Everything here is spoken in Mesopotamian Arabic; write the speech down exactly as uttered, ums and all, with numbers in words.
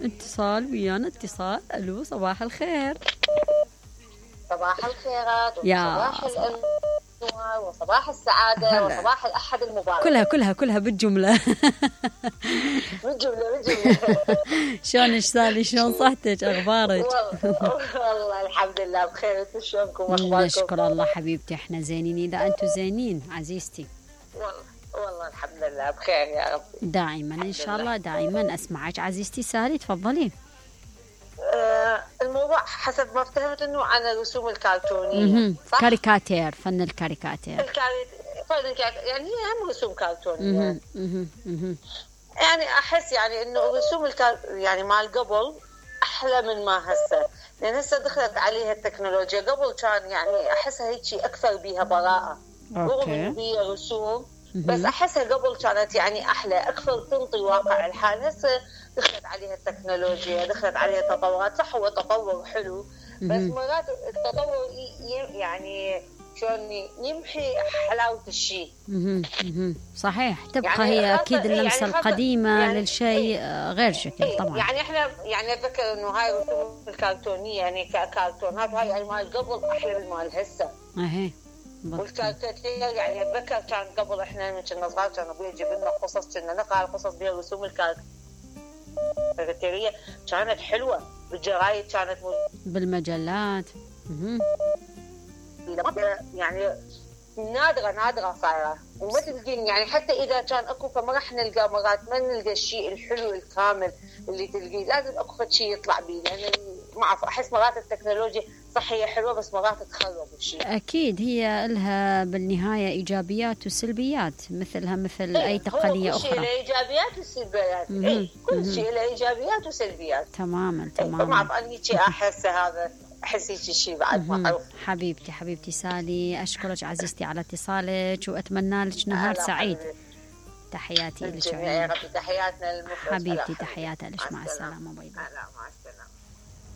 اتصال ويانا اتصال. الو صباح الخير. صباح الخيرات يا وصباح الانوار وصباح السعاده هلا. وصباح الاحد المبارك. كلها كلها كلها بالجمله. بالجمله بالجمله. شلونك سالي؟ شلون صحتك؟ اخبارك؟ والله والله الحمد لله بخير. انتم شلونكم واخباركم؟ نشكر الله حبيبتي، احنا زينين اذا انتم زينين عزيزتي. والله والله الحمد لله بخير يا ربي دائما ان شاء الله دائما. اسمعك عزيزتي سالي تفضلي. آه الموضوع حسب ما فهمت انه عن الرسوم الكرتونيه صح؟ كاريكاتير، فن الكاريكاتير. الكاري... فن الكاري... يعني هي هم رسوم كرتونيه. مهم. مهم. مهم. يعني احس يعني انه الرسوم الكار... يعني مال قبل احلى من ما هسه، لان هسه دخلت عليها التكنولوجيا. قبل كان يعني احسها هيك اكثر بيها براءه، رغم انه هي رسوم بس احسها قبل كانت يعني احلى اكثر تنطي واقع الحال. هسه دخلت عليها التكنولوجيا، دخلت عليها تطورات. صح هو تطور حلو بس مرات التطور يعني شلون يمحي حلاوه الشيء. صحيح تبقى يعني هي اكيد اللمسه يعني القديمه يعني للشيء غير شكل طبعا. يعني احنا يعني اتذكر انه هاي الرسوم الكرتونيه يعني ككرتونات هاي يعني مال قبل احلى من مال هسه. اهي والكاريكاتير يعني اتذكر كان قبل احنا من كنا صغار كان ابوي يجيب لنا قصص كنا نقرا القصص بها الرسوم الكاريكاتيريه كانت حلوه بالجرايد كانت بالمجلات. يعني نادره نادره صايره وما تلقين يعني حتى اذا كان اكو فما راح نلقى مرات ما نلقى الشيء الحلو الكامل اللي تلقيه. لازم اكو شيء يطلع بيه لان ما اعرف احس مرات التكنولوجيا صح هي حلوه بس مرات تخرب الشيء. اكيد هي لها بالنهايه ايجابيات وسلبيات مثلها مثل اي تقنيه كل اخرى. كل شيء له ايجابيات وسلبيات. اي كل شيء له ايجابيات وسلبيات. تماما تماما. ما اعرف انا هيك احس هذا احس هيك شيء بعد ما اعرف. حبيبتي حبيبتي سالي اشكرك عزيزتي على اتصالك واتمنى لك نهار سعيد. تحياتي لك يا ربي. تحياتنا للمخرج حبيبتي. تحياتي لك. مع السلامه. باي باي. مع السلامه.